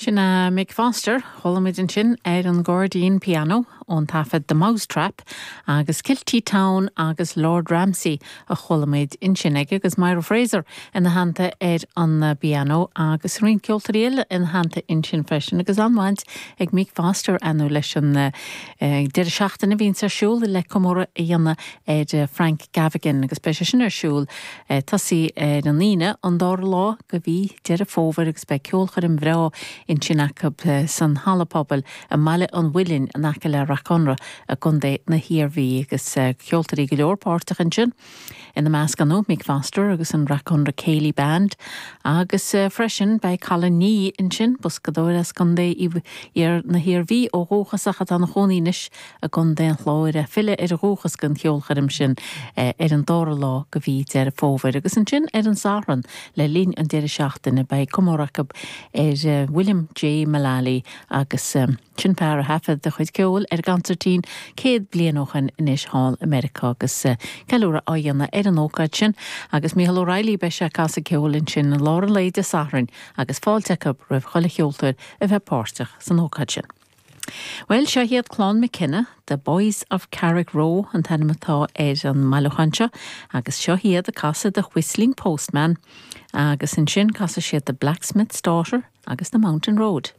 Sin é Mick Foster, chuala muid ansin ar an gcairdín pianó ón taifead The Mousetrap agus Kilty Town agus Lord Ramsay a chuala muid ansin aige agus Myra Fraser ina theannta ar an bpianó agus roinnt ceoltóirí eile ina theannta ansin freisin agus an-bhaint ag Mick Foster ar ndóigh leis an deireadh seachtaine a bhíonns ar siúl le comóradh a dhéanamh ar Frank Gaffigan agus beidh sé sin ar siúl Ag tosaí ar an Aoine, an dara lá de mhí Deireadh Fómhair agus beidh ceolchoirm bhreá ansin acu san Halla Pobail i mBaile an Mhuilinn in aice le Rath Conrath i gContae na hIarmhí agus ceoltóirí go leor páirteach ansin, ina measc ar ndóigh Mick Foster agus an Rath Conrath Céilí Band agus freisin beidh Colin Nee ansin, boscadóir as Contae na hIarmhí ó dhúchas ach atá ina chónaí anois i gContae an Chláir ag filleadh ar a dhúchas don cheolchoirm sin ar an dara lá de mhí Deireadh Fómhair. Agus ansin ar an Satharn le linn an deireadh seachtaine beidh comóradh acu ar William J. Mullally agus sin fear a thaifead a chuid ceoil ar an gconsairtín 100 bliain ó shin anois thall i Meiriceá agus ceiliúradh á dhéanamh ar an ócáid sin agus Mícheál O'Reilly beidh sé ag casadh ceoil ansin i lár an lae Dé Sathairn agus fáilte acu roimh chuile cheoltóir a bheith páirteach san ócáid sin. Bhuel, seo iad Clann McKenna, The Boys of Carrickroe an t-ainm atá ar an mbailiúchán seo, agus seo iad ag casadh The Whistling Postman, agus ansin casfaidh siad The Blacksmith's Daughter agus The Mountain Road.